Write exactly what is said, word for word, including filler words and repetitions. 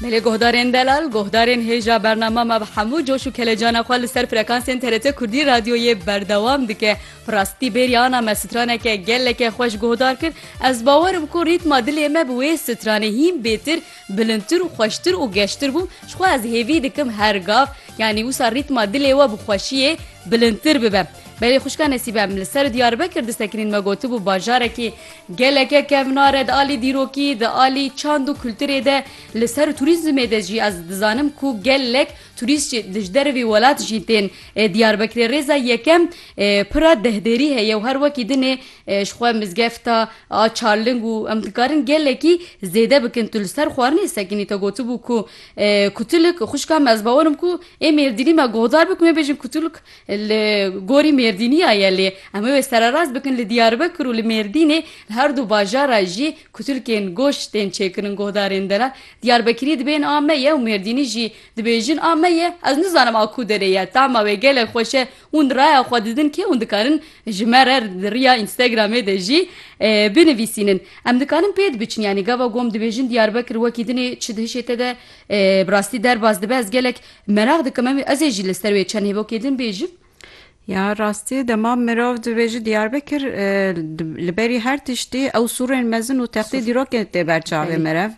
Belê guhdarên delal, guhdarên hêja bernama me bi hemû coş û kelecana xwe li ser frekansên T R T Kurdî Radyoyê berdewam dike. Bi rastî bêrî ana me straneke geleke xweş guhdar kir. Ez bawer im ku rîtma dilê me bi wê stranê hîn bêtir, bilindtir û xweştir û geştir bû. Ji xwe ez hêvî dikim her gav, yanî wisa rîtma dilê we bi xweşiyê bilindtir bibe. Belê xwişka Nesîbe, em li ser Diyarbekir disekinîn, me gotibû bajarekî geleke kevnar e, di alî dîrokî, di alî çand û kulturê de li ser turîzmê de jî ez dizanim ku gelek turîst jî di ji dervî welat jî tên, e, Diyarbekirê. Rêza yekem, e, pira dehderî heye û her wekî dinê, e, ji xwe mizgefta a Çarling û em dikarin gelekî zêde bikin. Tu li ser xwarinê sekinî, te gotibû ku, e, kutulik, xwişka me, ez bawer im ku ê Mêrdînî me guhdar bikin, me bêjin kutulik li gorî Mêrdîniya ye, lê em ê wê sererast bikin, li Diyarbekir û li Mêrdînê, li her du bajara jî kutilkên goş tên çêkirin guhdarên delal. Diyarbekirî dibên a me ye û Mêrdînî jî dibêjin a me ye. Ez nizanim a ku derê ye. Tahma wê gelek xweş e. Hûn raya xwe didin kê hûn dikarin ji me re di riya Instagramê de jî, e, binivîsînin. Em dikarin pê dibiçin, yanî gava ku em dibêjin Diyarbekir wekî dinê çi di hişê te de, e, bi rastî derbas dibe. Ez gelek meraq dikim, em, ez ê jî li ser wê çend hêvokê din bêjim. Ya rastî, dema mirov dibêje Diyarbekir, e, li berî her tiştî ew sûrên mezin û textê Sûr. dîrokên tê ber çavê Belê. meriv.